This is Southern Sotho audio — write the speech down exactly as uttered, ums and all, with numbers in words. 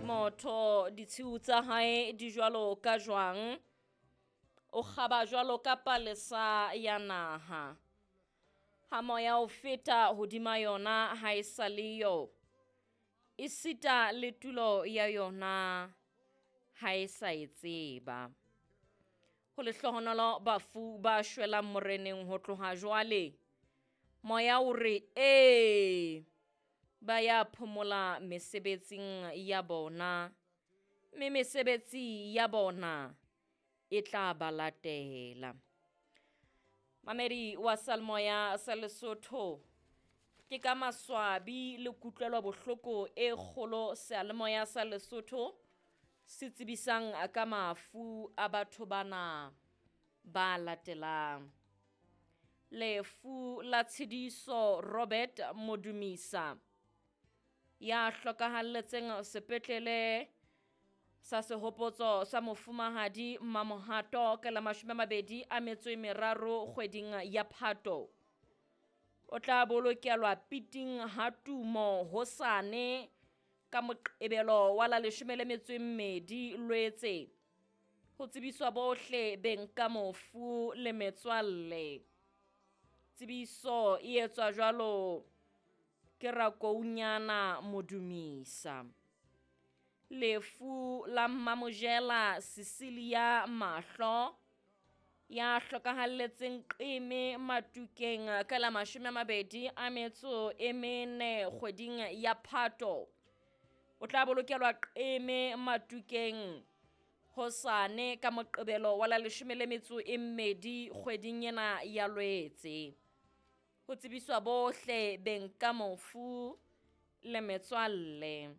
Motho ditshiu tsa hae di jwalo ka jwang, o kgaba jwalo ka palesa ya naha. Ha moya o feta hodima yona ha e sa le yo, esita le tulo ya yona ha e sa e tseba. Ho lehlohonolo bafu ba shwelang moreneng ho tloha jwale. Moya o re ee, ba ya phomola mesebetsing ya bona, mme mesebetsi ya bona e tla ba latela. Mamedi wa Salemoya sa Lesotho, ke ka maswabi le kutlwelo bohloko e kgolo Seyalemoya sa Lesotho se tsebisang ka mafu a batho bana ba latelang. Lefu la Tshidiso Robert Modumisa ya hlokahalletseng sepetlele sa sehopotso sa mofumahadi Mamohato ka la mashome a mabedi a metso e meraro kgweding ya Phato. O tla bolokelwa piting ha Tumo hosane ka Moqebelo wa la leshome le metso e mmedi Lwetse. Ho tsebiswa bohle beng ka mofu le metswalle. Tsebiso e etswa jwalo ke Rakounyana Modumisa. Lefu la Mmamojela Cecilia Mahlo ya hlokahalletseng Qeme Matukeng ka la mashome a mabedi a metso e mene kgweding ya Phato. O tla bolokelwa Qeme Matukeng hosane ka Moqebelo wa la leshome le metso e mmedi kgweding ena ya Lwetse. Ho tsebiswa bohle beng ka mofu le metswalle.